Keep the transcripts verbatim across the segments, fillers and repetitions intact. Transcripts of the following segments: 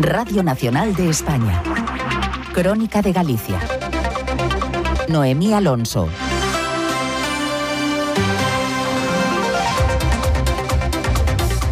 Radio Nacional de España. Crónica de Galicia. Noemí Alonso.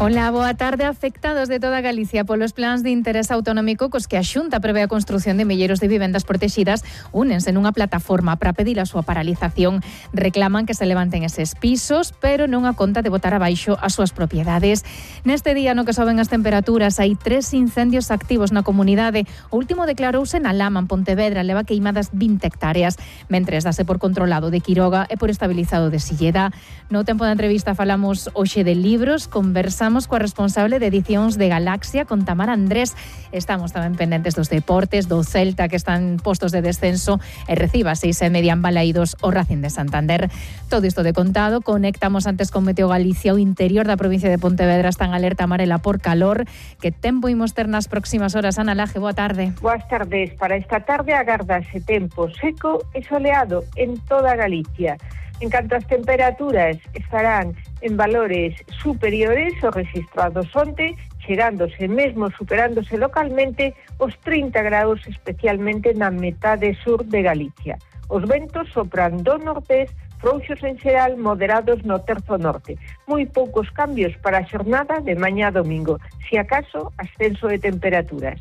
Ola, boa tarde. Afectados de toda Galicia polos plans de interés autonómico cos que a Xunta prevé a construción de milleiros de vivendas protegidas únense nunha plataforma para pedir a súa paralización. Reclaman que se levanten eses pisos, pero non a conta de botar abaixo as súas propiedades. Neste día no que soben as temperaturas hai tres incendios activos na comunidade. O último declarouse na Lama, en Pontevedra, leva queimadas vinte hectáreas, mentres dase por controlado de Quiroga e por estabilizado de Silleda. No tempo da entrevista falamos hoxe de libros, conversamos coa responsable de edicións de Galaxia, con Tamara Andrés. Estamos tamén pendentes dos deportes, do Celta, que están postos de descenso, e reciba seis e media en Balaídos o Racing de Santander. Todo isto de contado. Conectamos antes con Meteo Galicia. O interior da provincia de Pontevedra está en alerta amarela por calor. Que tempo imos ter nas próximas horas? Ana Laje, boa tarde. Boas tardes. Para esta tarde agardase tempo seco e soleado en toda Galicia. En canto as temperaturas estarán en valores superiores aos registrados onte, chegándose mesmo superándose localmente os trinta graus, especialmente na metade sur de Galicia. Os ventos sopran do nordés, frouxos en xeral, moderados no terzo norte. Moi poucos cambios para a xornada de mañá domingo, si acaso ascenso de temperaturas.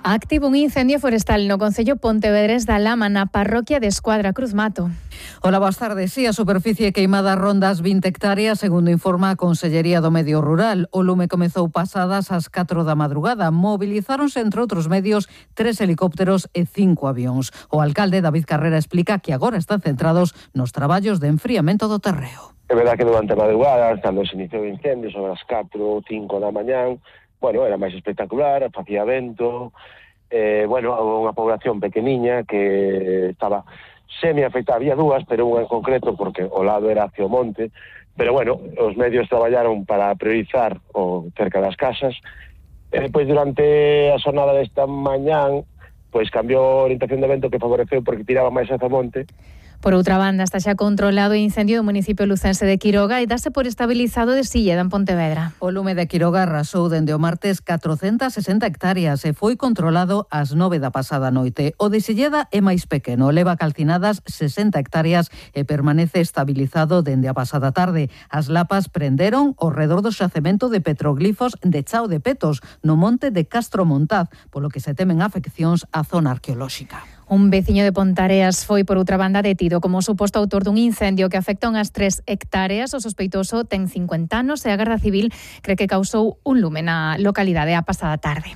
Activo un incendio forestal no concello pontevedrés da Lama, na parroquia de Escuadra Cruz Mato. Hola, boas tardes. Sí, a superficie queimada ronda as vinte hectáreas, segundo informa a Consellería do Medio Rural. O lume comezou pasadas as catro da madrugada. Movilizáronse, entre outros medios, tres helicópteros e cinco avións. O alcalde David Carrera explica que agora están centrados nos traballos de enfriamento do terreo. É verdad que durante a madrugada, cando se iniciou o incendio, sobre as catro ou cinco da mañán, bueno, era máis espectacular, facía vento, eh, bueno, unha población pequeniña que estaba semi-afectada, había dúas, pero unha en concreto, porque o lado era hacia o monte, pero bueno, os medios traballaron para priorizar o cerca das casas, e depois durante a xornada desta mañán, pois cambiou a orientación de vento que favoreceu porque tiraba máis hacia o monte. Por outra banda, está xa controlado o incendio do municipio lucense de Quiroga e dase por estabilizado de Silleda, en Pontevedra. O lume de Quiroga arrasou dende o martes catrocentas sesenta hectáreas e foi controlado ás nove da pasada noite. O de Silleda é máis pequeno, leva calcinadas sesenta hectáreas e permanece estabilizado dende a pasada tarde. As lapas prenderon ao redor do xacemento de petroglifos de Chao de Petos, no monte de Castro Montaz, polo que se temen afeccións á zona arqueolóxica. Un veciño de Pontareas foi, por outra banda, detido como suposto autor dun incendio que afecta unhas tres hectáreas. O sospeitoso ten cincuenta anos e a Garda Civil cree que causou un lume na localidade a pasada tarde.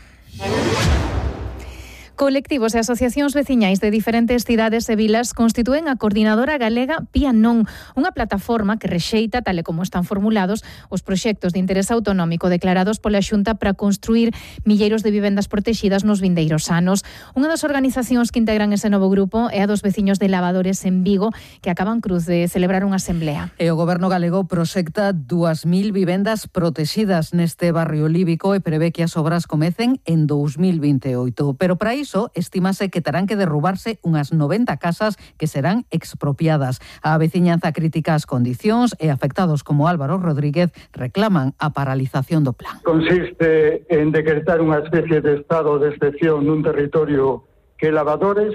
Colectivos e asociacións veciñais de diferentes cidades e vilas constitúen a Coordinadora Galega Pía Non, unha plataforma que rexeita, tal e como están formulados, os proxectos de interés autonómico declarados pola Xunta para construir milleiros de vivendas protegidas nos vindeiros anos. Unha das organizacións que integran ese novo grupo é a dos veciños de Lavadores en Vigo, que acaban cruz de celebrar unha asemblea. E o Goberno galego proxecta dúas mil vivendas protegidas neste barrio líbico e prevé que as obras comecen en dous mil vinte e oito. Pero para iso, estimase que terán que derrubarse unhas noventa casas que serán expropiadas. A veciñanza critica as condicións e afectados como Álvaro Rodríguez reclaman a paralización do plan. Consiste en decretar unha especie de estado de excepción nun territorio que Lavadores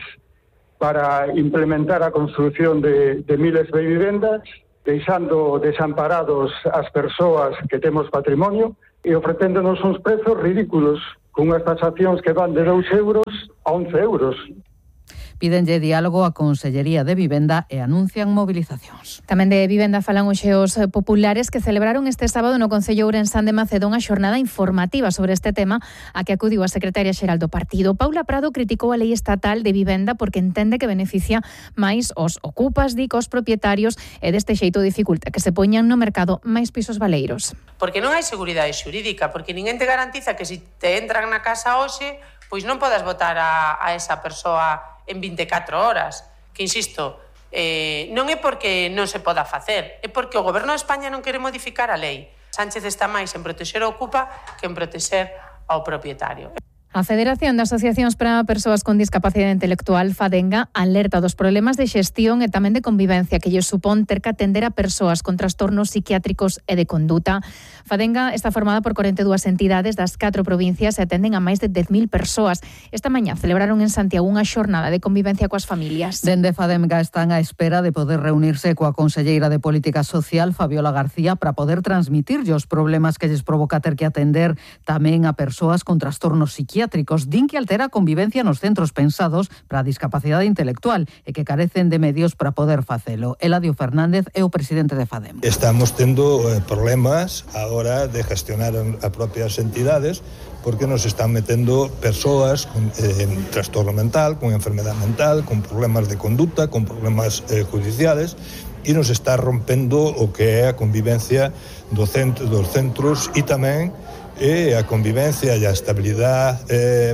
para implementar a construción de, de miles de vivendas, deixando desamparados as persoas que temos patrimonio e ofrecéndonos uns prezos ridículos, con unhas taxacións que van de dous euros a once euros. Pídenlle diálogo á Consellería de Vivenda e anuncian movilizacións. Tamén de vivenda falan os xeos populares que celebraron este sábado no Concello Ourensán de Macedón a xornada informativa sobre este tema a que acudiu a secretaria xeral do partido. Paula Prado criticou a lei estatal de vivenda porque entende que beneficia máis os ocupas, di, cos propietarios e deste xeito dificulta que se poñan no mercado máis pisos baleiros. Porque non hai seguridade xurídica, porque ninguén te garantiza que se te entran na casa hoxe, pois non podas votar a, a esa persoa en vinte e catro horas, que insisto, eh, non é porque non se poda facer, é porque o Goberno de España non quere modificar a lei. Sánchez está máis en protexer o ocupa que en protexer ao propietario. A Federación de Asociacións para Persoas con Discapacidade Intelectual, FADENGA, alerta dos problemas de xestión e tamén de convivencia que lle supón ter que atender a persoas con trastornos psiquiátricos e de conduta. FADENGA está formada por cuarenta e dúas entidades das catro provincias e atenden a máis de dez mil persoas. Esta mañá celebraron en Santiago unha xornada de convivencia coas familias. Dende FADENGA están á espera de poder reunirse coa conselleira de Política Social, Fabiola García, para poder transmitirlle os problemas que lles provoca ter que atender tamén a persoas con trastornos psiquiátricos. Din que altera a convivencia nos centros pensados para a discapacidade intelectual e que carecen de medios para poder facelo. Eladio Fernández é o presidente de FADEM. Estamos tendo eh, problemas agora de gestionar as propias entidades porque nos están metendo persoas con eh, trastorno mental, con enfermedad mental, con problemas de conduta, con problemas eh, judiciales e nos está rompendo o que é a convivencia do centro, dos centros e tamén e a convivencia e a estabilidade eh,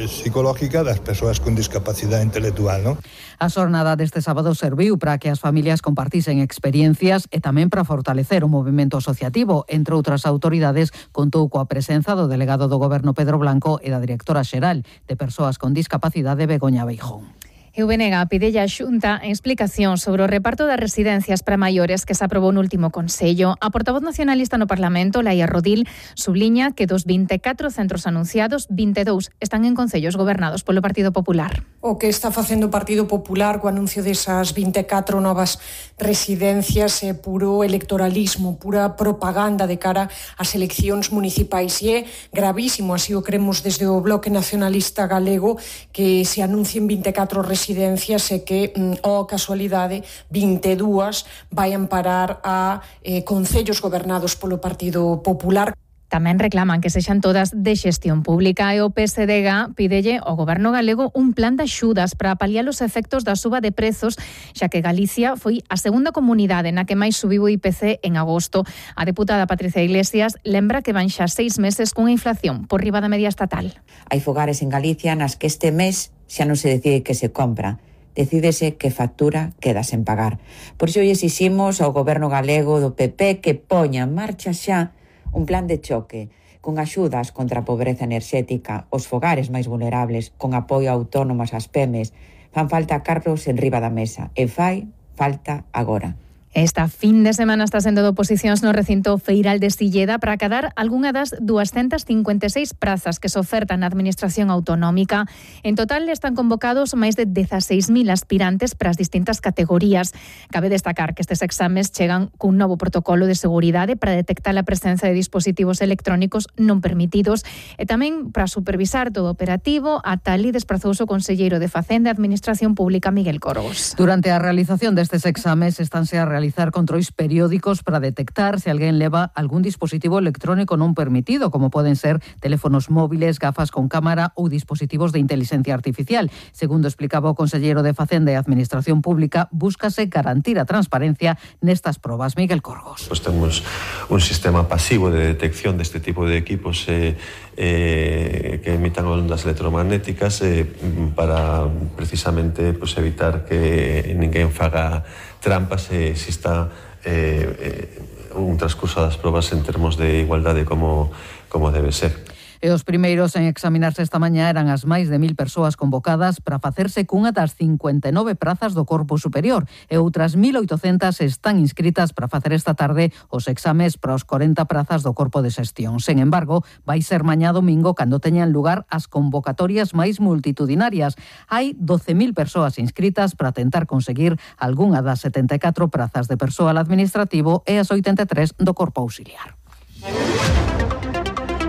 psicológica das persoas con discapacidade intelectual, non? A xornada deste sábado serviu para que as familias compartisen experiencias e tamén para fortalecer o movimento asociativo. Entre outras autoridades, contou coa presenza do delegado do Goberno Pedro Blanco e da directora xeral de Persoas con Discapacidade Begoña Beijón. E o B N G pide a Xunta explicación sobre o reparto das residencias para maiores que se aprobou no último Consello. A portavoz nacionalista no Parlamento, Laia Rodil, subliña que dos vinte e catro centros anunciados, vinte e dous están en concellos gobernados polo Partido Popular. O que está facendo o Partido Popular co anuncio desas vinte e catro novas residencias é puro electoralismo, pura propaganda de cara ás eleccións municipais e é gravísimo, así o cremos desde o Bloque Nacionalista Galego, que se anuncien vinte e catro residencias residencias e que, ó casualidade, vinte e dúas vayan parar a eh, concellos gobernados polo Partido Popular. Tamén reclaman que sexan todas de xestión pública e o P S D G pídelle ao Goberno galego un plan de axudas para paliar os efectos da suba de prezos, xa que Galicia foi a segunda comunidade na que máis subiu o I P C en agosto. A deputada Patricia Iglesias lembra que van xa seis meses cunha inflación por riba da media estatal. Hai fogares en Galicia nas que este mes xa non se decide que se compra, decídese que factura queda sen pagar. Por iso hoxe exiximos ao Goberno galego do P P que poña en marcha xa un plan de choque con axudas contra a pobreza enerxética, os fogares máis vulnerables, con apoio a autónomas ás P M Es. Fan falta cargos en riba da mesa e fai falta agora. Esta fin de semana está sendo de oposicións no recinto feiral de Silleda para acadar algunha das doscientas cincuenta e seis prazas que se ofertan na Administración Autonómica. En total están convocados máis de dezaseis mil aspirantes para as distintas categorías. Cabe destacar que estes exames chegan cun novo protocolo de seguridade para detectar a presenza de dispositivos electrónicos non permitidos e tamén para supervisar todo o operativo. A tal e desprazouse o conselleiro de Facenda e Administración Pública, Miguel Corgos. Durante a realización destes exames estánse a realizar realizar controis periódicos para detectar se alguén leva algún dispositivo electrónico non permitido, como poden ser teléfonos móviles, gafas con cámara ou dispositivos de inteligencia artificial. Segundo explicaba o conselleiro de Facenda e Administración Pública, búscase garantir a transparencia nestas probas. Miguel Corgos. Pues temos un sistema pasivo de detección deste tipo de equipos eh, eh, que emitan ondas electromagnéticas eh, para precisamente pues, evitar que ninguén faga trampas e exista eh, eh, un transcurso das probas en termos de igualdade como, como debe ser. E os primeiros en examinarse esta mañá eran as máis de mil persoas convocadas para facerse cunha das cincuenta e nove prazas do Corpo Superior e outras mil oitocentas están inscritas para facer esta tarde os exames para os corenta prazas do Corpo de Xestión. Sen embargo, vai ser mañá domingo cando teñan lugar as convocatorias máis multitudinarias. Hai doce mil persoas inscritas para tentar conseguir algunha das setenta e catro prazas de persoal administrativo e as oitenta e tres do Corpo Auxiliar.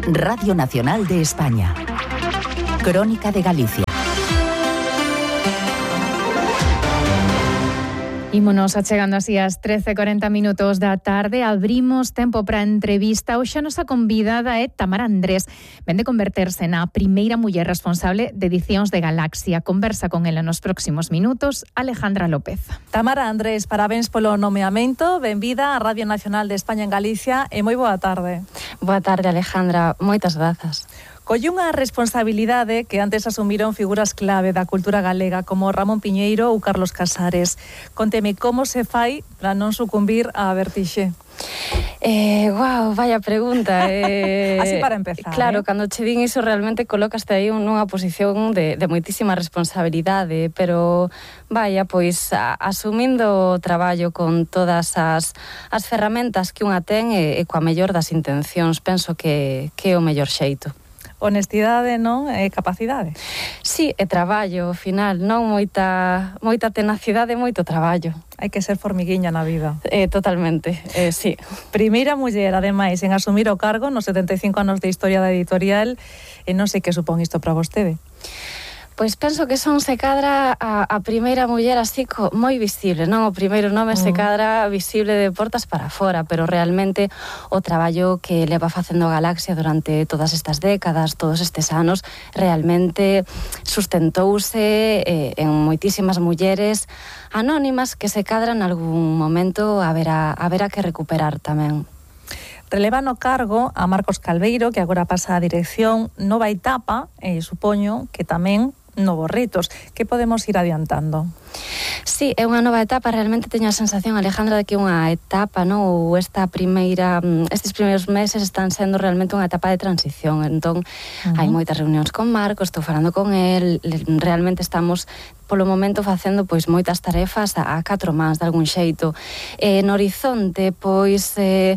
Radio Nacional de España. Crónica de Galicia. Ímonos achegando así ás trece e corenta minutos da tarde. Abrimos tempo para a entrevista. Hoxe a nosa convidada é Tamara Andrés. Vende converterse na primeira muller responsable de edicións de Galaxia. Conversa con ela nos próximos minutos Alejandra López. Tamara Andrés, parabéns polo nomeamento. Benvida á Radio Nacional de España en Galicia e moi boa tarde. Boa tarde, Alejandra. Moitas grazas. Colle unha responsabilidade que antes asumiron figuras clave da cultura galega como Ramón Piñeiro ou Carlos Casares. Conteme como se fai para non sucumbir á vertixe. Eh, guau, vaya pregunta. Eh, Así para empezar. Claro, eh? cando che din iso realmente colocaste aí nunha posición de, de moitísima responsabilidade, pero vaya, pois a, asumindo o traballo con todas as, as ferramentas que unha ten e, e coa mellor das intencións, penso que, que é o mellor xeito. Honestidade, non? E capacidade. Sí, e traballo, ao final, non? Moita, moita tenacidade e moito traballo. Hai que ser formiguiña na vida. Eh, totalmente, eh, sí. Primeira muller, ademais, en asumir o cargo nos setenta e cinco anos de historia da editorial, e non sei que supón isto para vostede. Pois penso que son se cadra a, a primeira muller así co, moi visible, non? O primeiro nome mm. se cadra visible de portas para fora, pero realmente o traballo que leva facendo a Galaxia durante todas estas décadas, todos estes anos, realmente sustentouse eh, en moitísimas mulleres anónimas que se cadran algún momento a ver a, a ver a que recuperar tamén. Releva no cargo a Marcos Calveiro, que agora pasa a dirección, nova etapa, e supoño que tamén novos retos. Que podemos ir adiantando? Sí, é unha nova etapa, realmente teño a sensación, Alejandra, de que unha etapa, non? Ou esta primeira, estes primeiros meses están sendo realmente unha etapa de transición, entón uh-huh. hai moitas reunións con Marcos, estou falando con el, realmente estamos polo momento facendo pois moitas tarefas a, a catro mans de algún xeito. Eh, no horizonte, pois eh,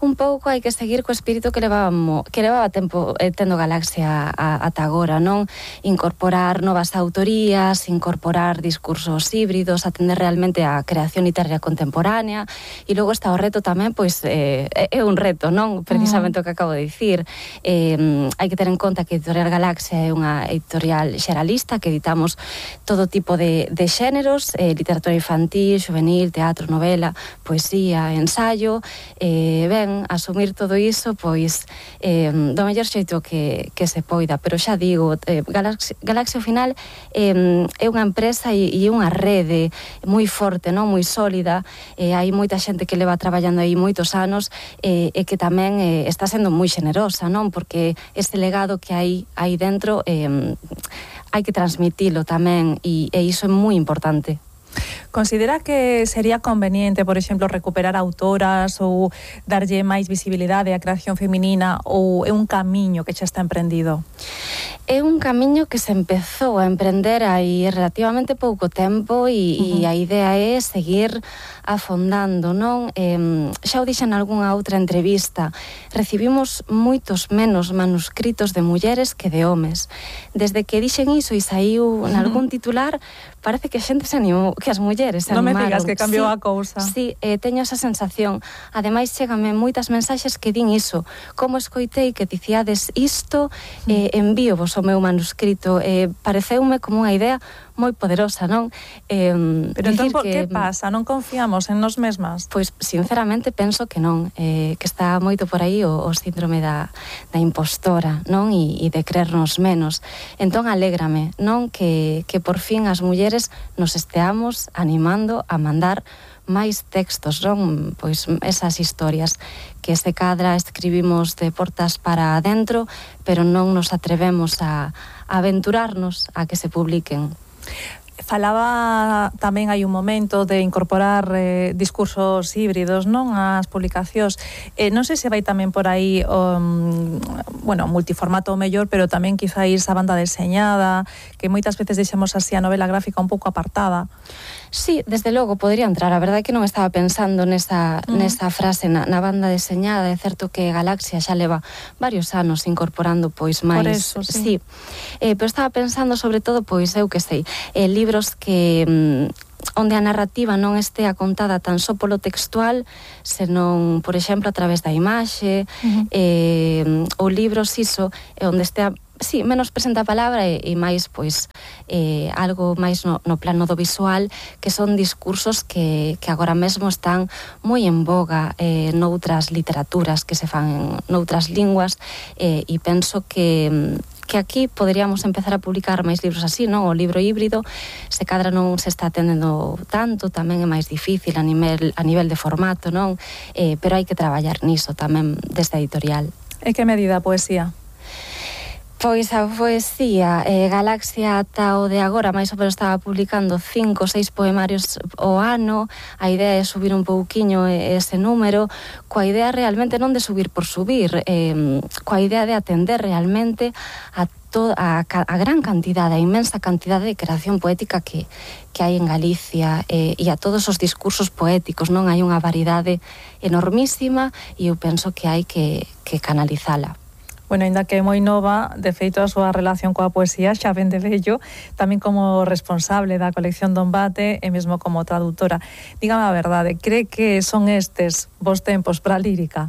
un pouco hai que seguir co espírito que levábamos, que levaba tempo eh, tendo Galaxia a, ata agora, non? Incorporar novas autorías, incorporar discursos híbridos, atender realmente a creación literaria contemporánea, e logo está o reto tamén, pois, eh, é un reto, non? Precisamente uh-huh. o que acabo de dicir. Eh, hai que ter en conta que Editorial Galaxia é unha editorial xeralista, que editamos todo tipo de, de xéneros, eh, literatura infantil, juvenil, teatro, novela, poesía, ensayo, eh, ben, asumir todo iso, pois, eh, do mellor xeito que, que se poida. Pero xa digo, eh, Galaxia, Galaxia ao final eh, é unha empresa e, e unha rede moi forte, non? Moi sólida, eh, hai moita xente que leva traballando aí moitos anos eh, e que tamén eh, está sendo moi xenerosa, non? Porque ese legado que hai aí dentro eh, hai que transmitilo tamén e, e iso é moi importante. Considera que sería conveniente, por exemplo, recuperar autoras ou darlle máis visibilidade á creación feminina, ou é un camiño que xa está emprendido? É un camiño que se empezou a emprender hai relativamente pouco tempo e, uh-huh. e a idea é seguir afondando, non? Eh, xa o dixen nalgúnha outra entrevista, recibimos moitos menos manuscritos de mulleres que de homes. Desde que dixen iso e saiu nalgún titular, parece que a xente se animou, que as mulleres se non animaron. Non me digas que cambiou sí, a cousa. Sí, eh, teño esa sensación. Ademais, chégame moitas mensaxes que din iso. Como escoitei que dicíades isto, eh, envío vos o meu manuscrito. Eh, pareceume como unha idea moi poderosa, non? Eh, Pero entón, que, que pasa? Non confiamos en nós mesmas? Pois, sinceramente, penso que non. Eh, que está moito por aí o, o síndrome da, da impostora, non? E, e de creernos menos. Entón, alégrame, non? Que, que por fin as mulleres nos esteamos animando a mandar máis textos, non? Pois esas historias que se cadra escribimos de portas para adentro, pero non nos atrevemos a, a aventurarnos a que se publiquen. Falaba tamén hai un momento de incorporar eh, discursos híbridos, non, ás publicacións. Eh, non sei se vai tamén por aí um, bueno, multiformato o mellor, pero tamén quizáis a banda deseñada, que moitas veces deixamos así a novela gráfica un pouco apartada. Sí, desde logo, podría entrar. A verdade é que non estaba pensando nesa, mm. nesa frase na, na banda deseñada. É certo que Galaxia xa leva varios anos incorporando pois máis... Por eso, sí. sí. Eh, pero estaba pensando sobre todo, pois, eu que sei, eh, libros que... Mm, onde a narrativa non estea contada tan só polo textual, senón, por exemplo, a través da imaxe, uh-huh. eh, ou libros iso, onde estea sí, menos presente a palabra e, e máis, pois, eh, algo máis no, no plano do visual, que son discursos que, que agora mesmo están moi en boga eh, noutras literaturas que se fan noutras linguas, eh, e penso que que aquí poderíamos empezar a publicar máis libros así, non? O libro híbrido, se cadra non se está atendendo tanto, tamén é máis difícil a nivel, a nivel de formato, non? Eh, pero hai que traballar niso tamén desde a editorial. E que medida a poesía? Pois a poesía eh, Galaxia ata o de agora máis ou menos estaba publicando cinco ou seis poemarios o ano. A idea é subir un pouquiño ese número, coa idea realmente non de subir por subir, eh, coa idea de atender realmente a toda a, a gran cantidade, a inmensa cantidade de creación poética que, que hai en Galicia, eh, e a todos os discursos poéticos, non? Hai unha variedade enormísima e eu penso que hai que, que canalizala. Bueno, ainda que é moi nova, de feito a súa relación coa poesía xa ven de vello, tamén como responsable da colección Don Bate e mesmo como traductora. Dígame a verdade, cree que son estes vos tempos para a lírica?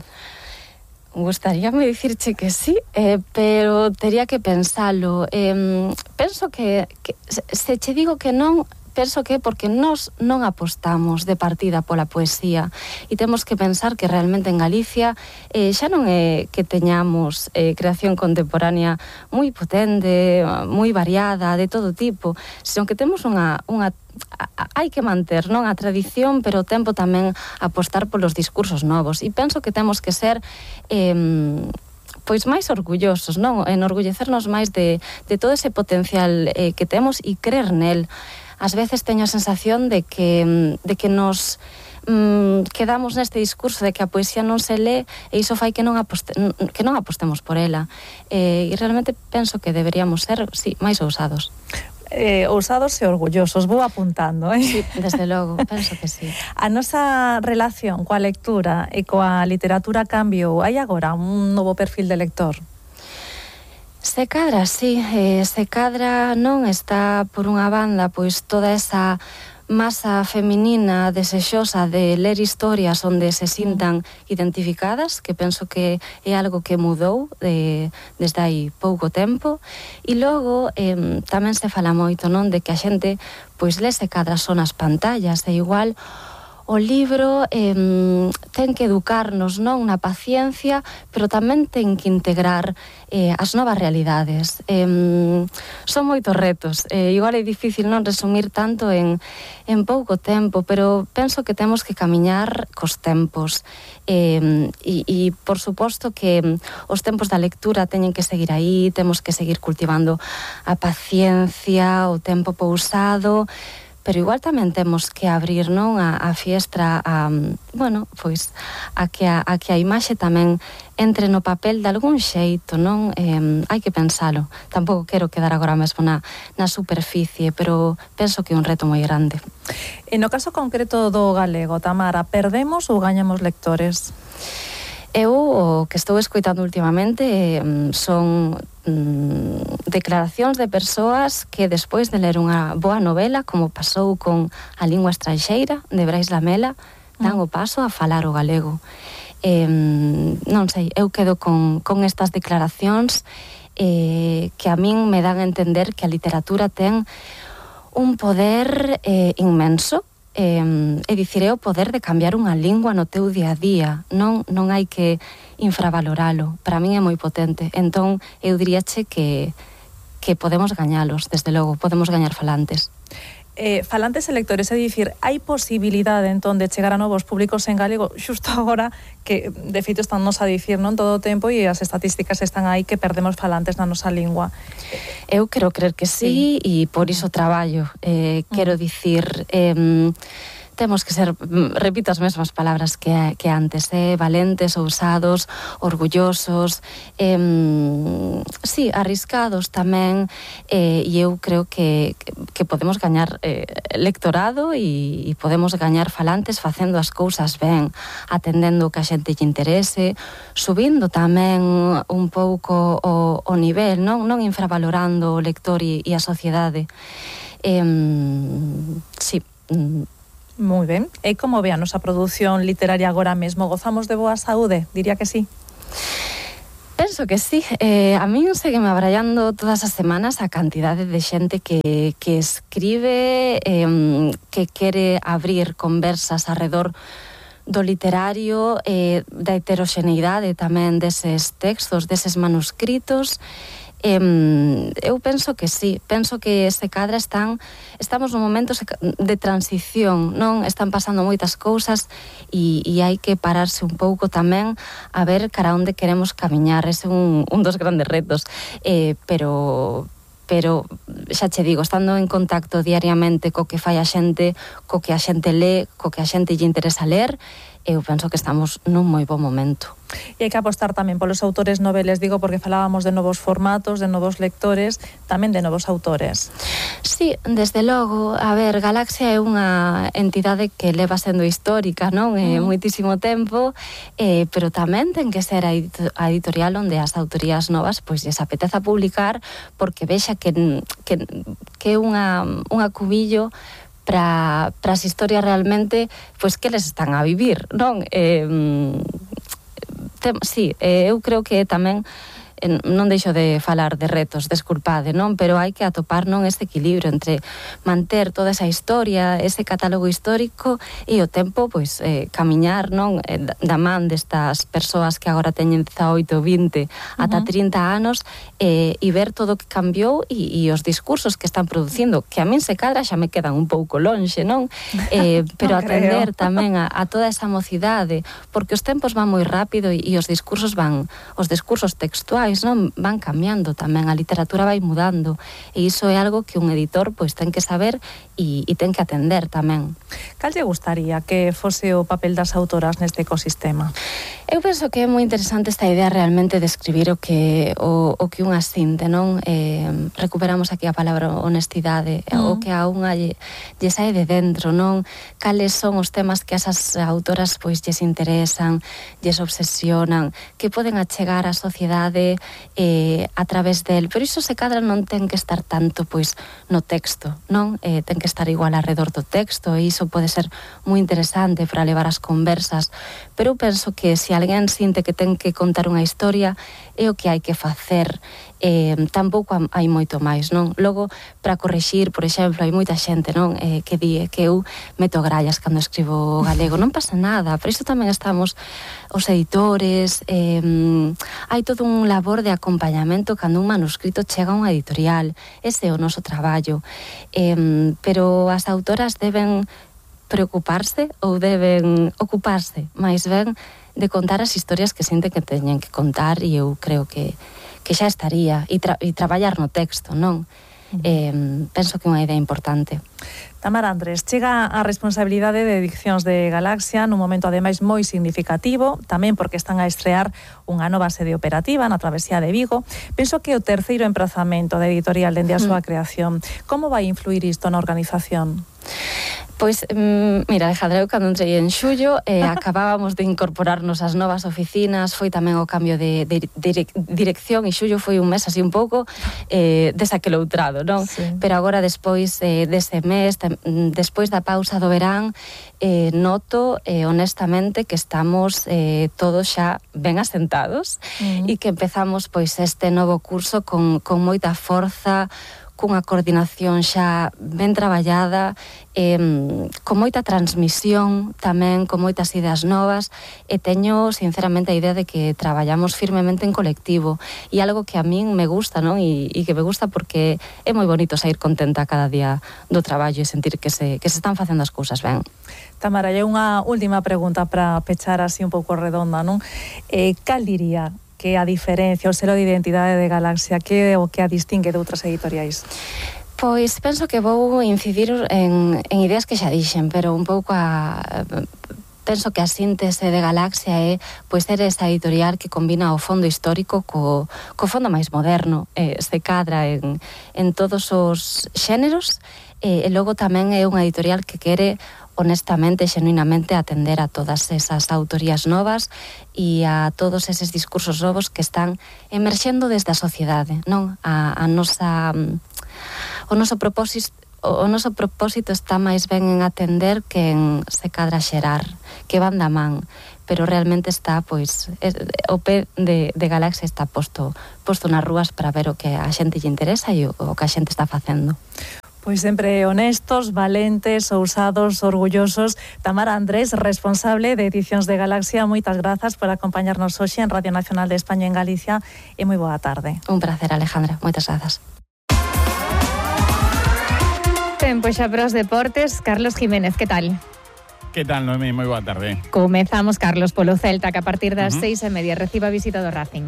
Gustaríame dicirche que sí, eh, pero tería que pensalo. Eh, penso que, que se che digo que non, penso que porque nós non apostamos de partida pola poesía e temos que pensar que realmente en Galicia eh, xa non é que teñamos eh, creación contemporánea moi potente, moi variada, de todo tipo, senón que temos unha, unha hai que manter, non, a tradición, pero o tempo tamén apostar polos discursos novos, e penso que temos que ser eh, pois máis orgullosos, non, enorgullecernos máis de, de todo ese potencial eh, que temos e crer nel. Ás veces teño a sensación de que, de que nos mm, quedamos neste discurso de que a poesía non se lee e iso fai que non, aposte, que non apostemos por ela. Eh, e realmente penso que deberíamos ser, sí, máis ousados. Eh, ousados e orgullosos, vou apuntando, eh? Sí, desde logo, penso que sí. A nosa relación coa lectura e coa literatura cambiou. Hai agora un novo perfil de lector? Se cadra, sí, eh, se cadra non está por unha banda pois toda esa masa feminina desexosa de ler historias onde se sintan identificadas, que penso que é algo que mudou de, desde hai pouco tempo, e logo eh, tamén se fala moito, non, de que a xente pois lese cadra son as pantallas, e igual o libro eh, ten que educarnos, non, na paciencia, pero tamén ten que integrar eh, as novas realidades. Eh, son moitos retos. Eh, igual é difícil non resumir tanto en, en pouco tempo, pero penso que temos que camiñar cos tempos. Eh, e, e, por suposto, que os tempos da lectura teñen que seguir aí, temos que seguir cultivando a paciencia, o tempo pousado, pero igual tamén temos que abrir, non, a, a fiestra a, bueno, pois a que a, a que a imaxe tamén entre no papel de algún xeito, non? Eh, hai que pensalo. Tampouco quero quedar agora mesmo na, na superficie, pero penso que é un reto moi grande. E no caso concreto do galego, Tamara, perdemos ou gañamos lectores? Eu o que estou escoitando últimamente eh, son mm, declaracións de persoas que despois de ler unha boa novela, como pasou con A lingua estranxeira, de Brais Lamela, dan o paso a falar o galego. Eh, non sei, eu quedo con, con estas declaracións eh, que a min me dan a entender que a literatura ten un poder eh, inmenso. Eh, é dicir, é o poder de cambiar unha lingua no teu día a día, non, non hai que infravaloralo, para min é moi potente. Entón eu diríache que, que podemos gañalos, desde logo, podemos gañar falantes. Eh, falantes e lectores, é dicir, hai posibilidade entón de chegar a novos públicos en galego xusto agora que de feito están nos a dicir, non, todo o tempo, e as estatísticas están aí que perdemos falantes na nosa lingua. Eu quero crer que sí, e por iso traballo. Eh, quero dicir, eh, temos que ser, repito as mesmas palabras que, que antes, eh, valentes, ousados, orgullosos, eh, sí, arriscados tamén, eh, e eu creo que, que podemos gañar eh, lectorado e, e podemos gañar falantes facendo as cousas ben, atendendo o que a xente lle interese, subindo tamén un pouco o, o nivel, non, non infravalorando o lector e, e a sociedade. Eh, sí, moi ben. E como ve a nosa produción literaria agora mesmo? Gozamos de boa saúde? Diría que sí. Penso que sí. Eh, a min segue me abrallando todas as semanas a cantidade de xente que, que escribe, eh, que quere abrir conversas arredor do literario, eh, da heteroxeneidade tamén deses textos, deses manuscritos. Eh, eu penso que sí, penso que se cadra están, estamos nun momento de transición, non? Están pasando moitas cousas e, e hai que pararse un pouco tamén a ver cara onde queremos camiñar. Ese é un, un dos grandes retos, eh, pero... pero xa che digo, estando en contacto diariamente co que fai a xente, co que a xente lee, co que a xente lle interesa ler, eu penso que estamos nun moi bo momento. E hai que apostar tamén polos autores noveles, digo, porque falábamos de novos formatos, de novos lectores, tamén de novos autores. Sí, desde logo, a ver, Galaxia é unha entidade que leva sendo histórica, non? É mm. moitísimo tempo, eh, pero tamén ten que ser a editorial onde as autorías novas pois lles apeteza publicar, porque vexa que que, que é unha, unha cubillo para as historias realmente, pois que les están a vivir, non? Eh, Tem, sí, eh, eu creo que tamén eh, non deixo de falar de retos, desculpade, non? Pero hai que atopar non ese equilibrio entre manter toda esa historia, ese catálogo histórico e o tempo, pois, eh, camiñar, non? Eh, da man destas persoas que agora teñen dezaoito, vinte, ata uh-huh. trinta anos, eh, e ver todo o que cambiou e, e os discursos que están producindo, que a min se cadra xa me quedan un pouco lonxe, non? Eh, pero non atender creo. Tamén a, a toda esa mocidade, porque os tempos van moi rápido e, e os discursos van, os discursos textuais non van cambiando tamén, a literatura vai mudando e iso é algo que un editor pois ten que saber e, e ten que atender tamén. Cal lle gustaría que fose o papel das autoras neste ecosistema? Eu penso que é moi interesante esta idea realmente de escribir o que o, o que unha sinte, non? Eh, recuperamos aquí a palabra honestidade, mm. o que a unha lle, lle sae de dentro, non? Cales son os temas que esas autoras pois lles interesan, lles obsesionan, que poden achegar á sociedade eh, a través del, pero iso se cadra non ten que estar tanto pois no texto, non? Eh, ten que estar igual alrededor do texto e iso pode ser moi interesante para levar as conversas, pero eu penso que se alguén sinte que ten que contar unha historia é o que hai que facer, eh, tampouco hai moito máis, non? Logo, para correxir, por exemplo, hai moita xente, non? Eh, que di que eu meto grallas cando escribo galego, non pasa nada, por iso tamén estamos os editores, eh, hai todo un labor de acompañamento cando un manuscrito chega a unha editorial, ese é o noso traballo, eh, pero as autoras deben preocuparse ou deben ocuparse máis ben de contar as historias que sinten que teñen que contar e eu creo que, que xa estaría e, tra e traballar no texto, non? Uh-huh. Eh, penso que é unha idea importante. Tamara Andrés, chega a responsabilidade de Edicións de Galaxia nun momento ademais moi significativo, tamén porque están a estrear unha nova sede operativa na Travesía de Vigo. Penso que o terceiro emprazamento da editorial dende a súa creación. Como vai influir isto na organización? Pois, mira, Alejandra, eu cando entrei en xullo eh, acabábamos de incorporarnos ás novas oficinas, foi tamén o cambio de, de, de dirección e xullo foi un mes así un pouco eh, desaqueloutrado, non? Sí. Pero agora despois eh, dese mes, despois da pausa do verán, eh, noto eh, honestamente que estamos eh, todos xa ben asentados uh-huh. e que empezamos pois este novo curso con, con moita forza, cunha coordinación xa ben traballada, eh, con moita transmisión tamén, con moitas ideas novas, e teño sinceramente a idea de que traballamos firmemente en colectivo, e algo que a min me gusta, non? E, e que me gusta porque é moi bonito sair contenta cada día do traballo e sentir que se, que se están facendo as cousas ben. Tamara, hai unha última pregunta para pechar así un pouco redonda, non? Eh, cal diría que a diferencia, o selo de identidade de Galaxia, que é o que a distingue de outras editoriais? Pois penso que vou incidir en, en ideas que xa dixen, pero un pouco a... penso que a síntese de Galaxia é pois ser esa editorial que combina o fondo histórico co, co fondo máis moderno, eh, se cadra en, en todos os xéneros, eh, e logo tamén é unha editorial que quere honestamente, xenuinamente atender a todas esas autorías novas e a todos eses discursos novos que están emerxendo desde a sociedade, non? A, a nosa o noso propósito o noso propósito está máis ben en atender que en se cadra xerar, que van da man, pero realmente está, pois, o pé de, de Galaxia está posto, posto nas rúas para ver o que a xente lle interesa e o, o que a xente está facendo. Pois sempre honestos, valentes, ousados, orgullosos. Tamara Andrés, responsable de Edicións de Galaxia, moitas grazas por acompañarnos hoxe en Radio Nacional de España en Galicia e moi boa tarde. Un placer, Alejandra. Moitas grazas. Tempo xa para os deportes. Carlos Jiménez, que tal? Que tal, Noemí? Moi boa tarde. Comezamos, Carlos, polo Celta, que a partir das Uh-huh. seis e media reciba a visita do Racing.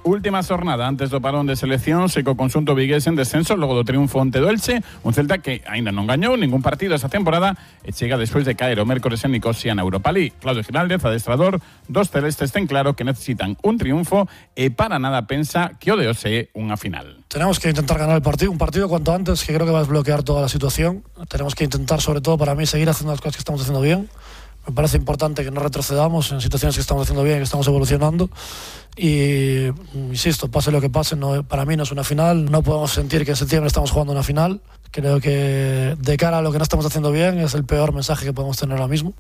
Última xornada antes do parón de selección, se co conxunto vigués en descenso logo do triunfo ante do Elche, un Celta que aínda non gañou ningún partido esa temporada e chega despois de caer o mércores en Nicosia na Europa League. Claudio Giraldez, adestrador dos celestes, ten claro que necesitan un triunfo e para nada pensa que o de hoxe é unha final. Tenemos que intentar ganar el partido, un partido cuanto antes, que creo que va a desbloquear toda la situación. Tenemos que intentar, sobre todo para mí, seguir haciendo las cosas que estamos haciendo bien. Me parece importante que no retrocedamos en situaciones que estamos haciendo bien, que estamos evolucionando. Y, insisto, pase lo que pase, no, para mí no es una final. No podemos sentir que en septiembre estamos jugando una final. Creo que de cara a lo que no estamos haciendo bien es el peor mensaje que podemos tener ahora mismo.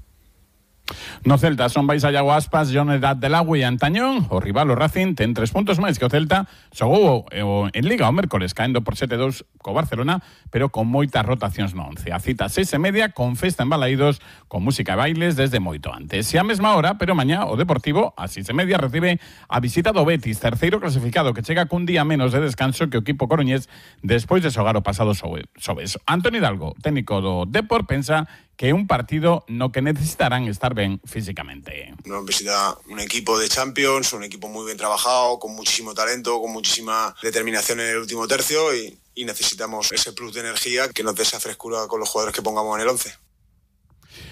No Celta son vais a Iago Aspas, Jonedad del Agua e Antañón. O rival, o Racing, ten tres puntos máis que o Celta. Xogou en Liga o mércores caendo por sete dous co Barcelona, pero con moitas rotacións no once. A cita seis e media con festa en Balaídos, con música e bailes desde moito antes. E a mesma hora, pero mañá o Deportivo a seis e media recibe a visita do Betis, terceiro clasificado, que chega cun día menos de descanso que o equipo coruñés despois de xogar o pasado xoves. Antoni Hidalgo, técnico do Depor, pensa que é un partido no que necesitarán estar ben físicamente. Nos visita un equipo de Champions, un equipo muy bien trabajado, con muchísimo talento, con muchísima determinación en el último tercio y, y necesitamos ese plus de energía que nos dé esa frescura con los jugadores que pongamos en el once.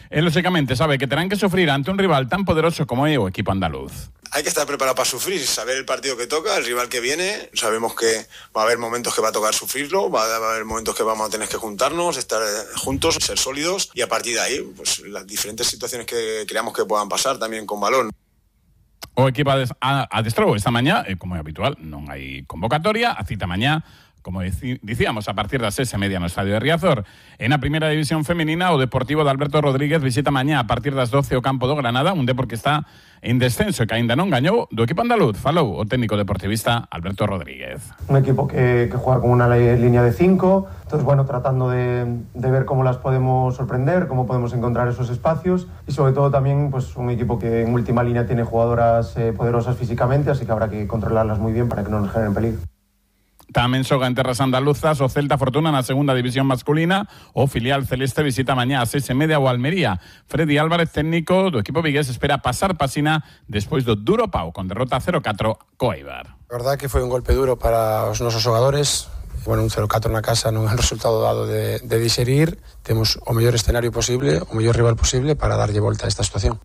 E, lógicamente, sabe que terán que sufrir ante un rival tan poderoso como é o equipo andaluz. Hay que estar preparado para sufrir, saber el partido que toca, el rival que viene. Sabemos que va a haber momentos que va a tocar sufrirlo, va a haber momentos que vamos a tener que juntarnos, estar juntos, ser sólidos y a partir de ahí, pues las diferentes situaciones que creamos que puedan pasar también con balón. O equipo adestrou esta mañá, e como é habitual, non hai convocatoria, a cita mañá, como dicíamos, a partir das seis e media no Estadio de Riazor. En a primeira división femenina, o Deportivo de Alberto Rodríguez visita mañá a partir das doce o campo do Granada, un Depor que está en descenso e que aínda non gañou. Do equipo andaluz falou o técnico deportivista Alberto Rodríguez. Un equipo que, que juega con una línea de cinco, entonces bueno, tratando de, de ver cómo las podemos sorprender, cómo podemos encontrar esos espacios y sobre todo también pues un equipo que en última línea tiene jugadoras eh, poderosas físicamente, así que habrá que controlarlas muy bien para que no nos generen peligro. Tamén xoga en terras andaluzas o Celta Fortuna na segunda división masculina. O filial celeste visita mañá a seis e media o Almería. Freddy Álvarez, técnico do equipo vigués, espera pasar pasina despois do duro pau con derrota cero catro co Eibar. A verdade que foi un golpe duro para os nosos xogadores. Bueno, un cero catro na casa non é un resultado dado de, de digerir. Temos o mellor escenario posible, o mellor rival posible para darlle volta a esta situación.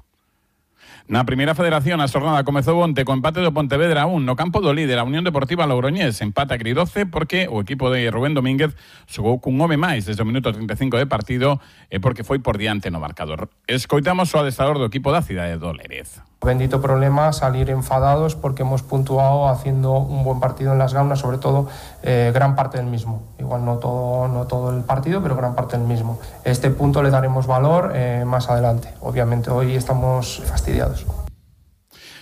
Na primeira federación, a xornada comezou onte co empate do Pontevedra un no campo do líder, a Unión Deportiva Logroñés. Empate agridoce porque o equipo de Rubén Domínguez xogou cun home máis desde o minuto treinta e cinco de partido e porque foi por diante no marcador. Escoitamos o adestrador do equipo da cidade do Lérez. Bendito problema salir enfadados porque hemos puntuado haciendo un buen partido en las gaunas, sobre todo eh, gran parte del mismo. Igual no todo, no todo el partido, pero gran parte del mismo. Este punto le daremos valor eh, más adelante. Obviamente hoy estamos fastidiados.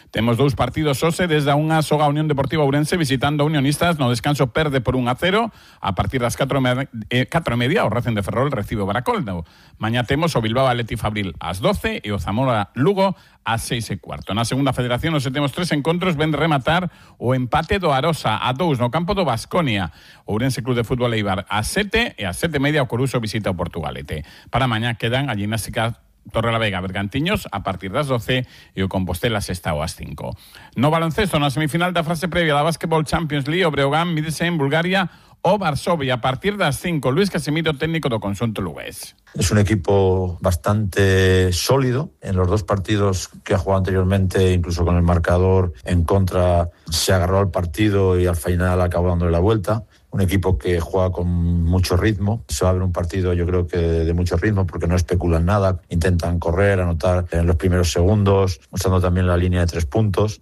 Temos dous partidos hoxe desde a unha soga Unión Deportiva Ourense visitando a Unionistas. No descanso perde por un a cero. A partir das catro e media o Racing de Ferrol recibe o Baracaldo. Mañá temos o Bilbao Athletic Fabril ás doce e o Zamora Lugo ás seis e cuarto. Na segunda federación hoxe temos tres encontros. Ven de rematar o empate do Arosa a dous no campo do Baskonia. Ourense Club de Fútbol Eibar ás sete e ás sete e media o Coruso visita o Portugalete. Para mañá quedan a gimnástica Torrelavega Bergantiños a partir das doce e o Compostela Sestao ás cinco. No baloncesto, na semifinal da fase previa da Basketball Champions League, o Breogán mídese en Bulgaria o Varsovia a partir das cinco. Luis Casimiro, técnico do conxunto lugués. Es un equipo bastante sólido. En los dos partidos que ha jugado anteriormente, incluso con el marcador en contra, se agarró al partido y al final acabó dándole la vuelta. Un equipo que juega con mucho ritmo. Se va a ver un partido, yo creo que de mucho ritmo, porque no especulan nada. Intentan correr, anotar en los primeros segundos, usando también la línea de tres puntos.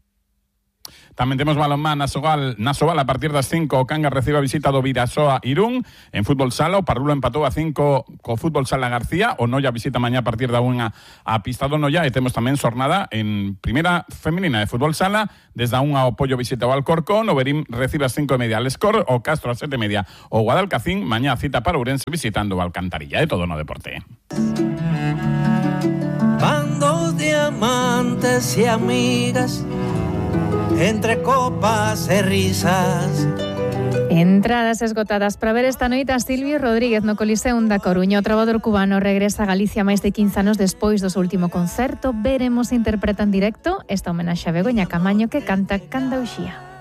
Tamén temos balonmán na Sogal, na Sogal a partir das cinco, o Cangas recibe a visita do Vidasoa Irún. En fútbol sala, o Parrulo empatou a cinco co fútbol sala García, o Noia visita mañá a partir da unha a pista do Noia, e temos tamén xornada en primeira femenina de fútbol sala, desde a unha o Pollo visita o Alcorcón, o Berín recibe a cinco e media al Escor, o Castro a sete e media o Guadalcacín, mañá cita para Ourense visitando o Alcantarilla. É todo no deporte. Bandos diamantes e amigas, entre copas e risas. Entradas esgotadas para ver esta noite a Silvio Rodríguez no Coliseum da Coruña. O trabador cubano regresa a Galicia máis de quince anos despois do seu último concerto. Veremos se interpreta en directo esta homenaxe a Begoña Camaño, que canta Candauxía.